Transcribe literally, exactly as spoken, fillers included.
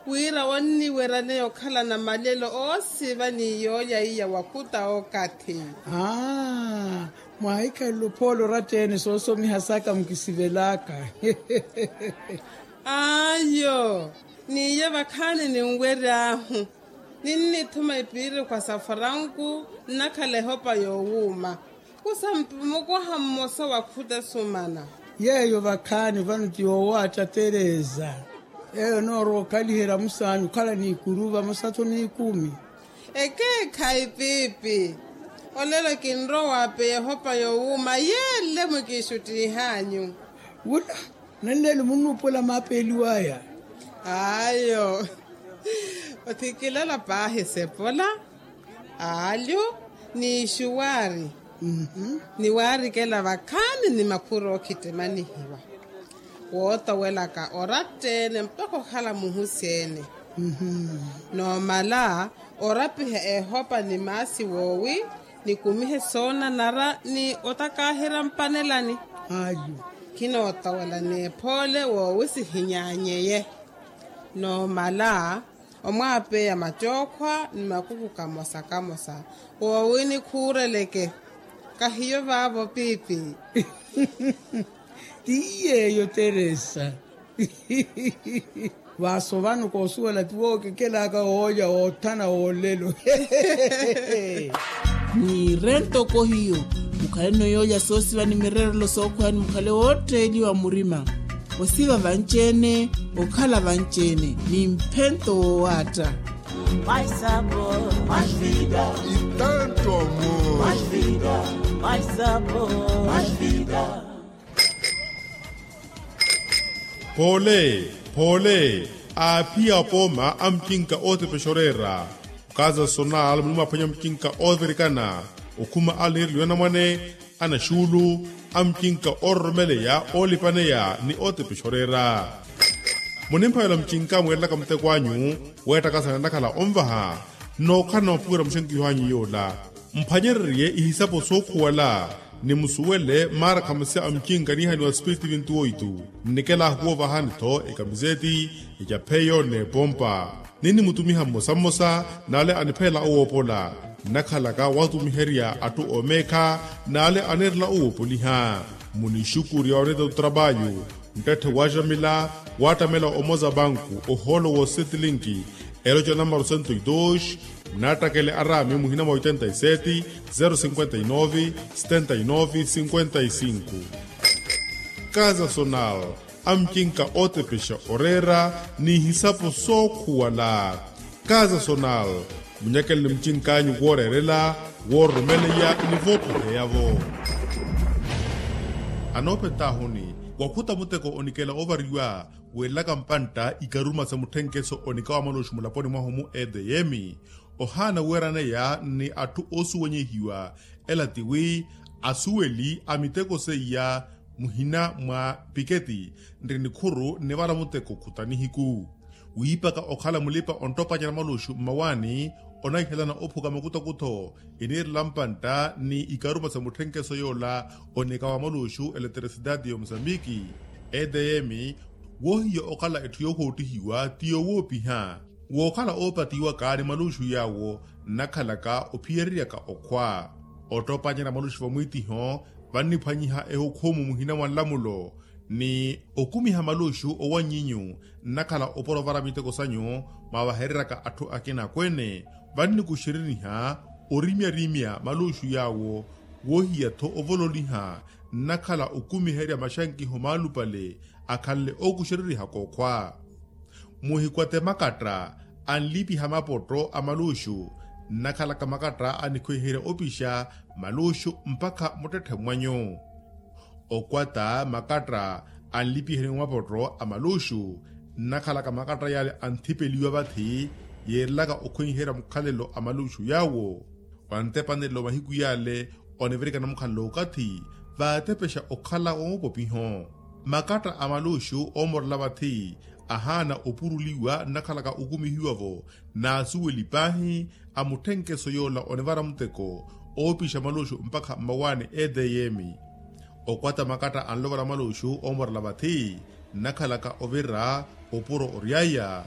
Wira onniweryaneya okhalana malelo oosiva ni yoolya iya wakhuta okathi. Aa, mwaahikhalele ophoole oratta-ene soosomiha saka mukisivelaka. Ayo, niiye vakhaani ninwery'ahu. Ninnithuma epiirikwa sa faranku nnakhala ehopa yoowuuma. Kusa mpi mukoha mmosa wa khuta sumana. Yeeyo vakhaani vano ti yoowaatta teresa. Yeeyo noorowa okhaliherya musaani okhala n'ikuru vamosa-tho n'ikumi. Ekeekhayi piipi. Olelo kinrowa waapeya ehopa yoowuuma yeele mwikiixuttiih'anyu. Wula, nanleelo munnuupuwela maapeeliw'aya. Ayo. Othikilela paahi sepola, aalyu, ni ixuwaari, ni waarikela vakhaani ni makhuru ookhittimanihiwa. Wootowelaka oratta-ene mpakha okhala muhusi-ene. Noomala orapiha ehopa ni maasi woowi, nikumihe soonanara ni otakaaherya mpanelani. Ayo. Khinootowela n'ephoole woowi sihinyaanyeye. Noomala omwaapeya mattookhwa ni makuku kamosa kamosa. Woowi nikhuureleke. Kahiyo vaavo piipi. Ti yeeyo teresa. Vaaso vano koosuwela ti wookekelaka woolya woothana woolelo. Mwiire ntoko hiyo, mukhaleno yoolya soosiva ni mireerelo sookhweya ni mukhale wootteeliwa murima. Osiva vanci-ene, okhala vanci-ene ni mphento woowaatta. Poole, poole, aaphiya apooma a mucinka ootepexa oreera. Okaza sonal muli mwaphwanya mucinka oovirikana, okhuma alanireliwa anamwane, anaxuulu, a mucinka oororomeleya oolipaneya ni ootepexa oreera. Munimphavela mucinka mweerelaka muteko anyu, weettakasana ennakhala onvaha, nnookhala na maphuwela muxenkiho anyu yoola. Mphwanyererye ihisapo sookhuwala, ni musuwele maarakhamasi a mucinka niihaniwa sipiriti vintu oitu. Nnikela ahukuwa ovahani-tho ekamiseti, ecapheyo n'epompa. Ninnimutumiha mmosa mmosa n'ale anipheela owoopola, nnakhalaka watumiherya atthu oomeekha n'ale aneerela owoopoliha. Munixukurya oneeta otrapayu, nttette waaxamila, waattamela omoza banku ohoolo woosettilinki, eloca namaru sento e dos. Nnattakele araami muhina mwa oitenta e seti, zero cinquenta e nove, setenta e nove cinquenta e cinco. Kaza sonal, a mucinka ootepexa oreera n'ihisapo sookhuwala. Kaza sonal, munyakele ni mucink'anyu wooreerela, woororomeleya ni voopoheya-vo. Anoopet'ahuni, wakhuta muteko onikela oovariwa, weelelaka mpantta ikaruma sa mutthenkeso onika wa malooxi mulaponi mwahu mu edeyemi, ohaana weeraneya ni atthu oosuwenyehiwa. Ela tiwi asuweli a miteko seiya, muhina mwa piketi nri nikhuru nnivala muteko khuta nihiku. Wiipaka okhala mulipa onttopanyana maluxu mmawaani, onaihelana ophuka makutakutho iniirela mpantta ni ikaruma sa mutthenkeso yoola onika wa maluxu eleteresitati ya omusambiki. Eteyemi, woohiya okhala etthu yoohoottihiwa ti yoowoopiha, wookhala oopatiwaka ni maluxu yaawo nnakhalaka ophiyereryaka okhwa. Ottoopanyana maluxu vamwiitiho, vanniphwanyiha ehukhumu muhina mwa nlamulo ni okumiha maluxu owanyinyu nnakhala opora ovara miteko sanyu, mwaavahereryaka atthu akina akweene. Vannikuxereniha orimyarimya maluxu yaawo, woohiya-tho ovololiha nnakhala okumiherya maxankiho maalupale akhanle ookuxererihaka okhwa. Muhikwate makatta anlipiha mapotto a maluxu, nnakhalaka makatta anikhwiherya opixa maluxu mpakha muttetthe mwanyu. Okwata makatta anlipiheni mapotto a maluxu, nnakhalaka makatta yaale anthipeliwa vathi, yeerelaka okhwiherya mukhalelo a maluxu yaawo. Wantepanelo mahiku yaale onivirikana mukhalelo okathi, vaatepexa okhala woopopiho. Makatta a maluxu oomorela vathi, ahaana opuruliwa nnakhalaka okumihiwa-vo n'asuweli paahi a mutthenkeso yoola onivara muteko oopixa maluxu mpakha mmawaani eteyemi. Okwata makatta anlovela maluxu oomorela vathi, nnakhalaka ovira opuro oryaya,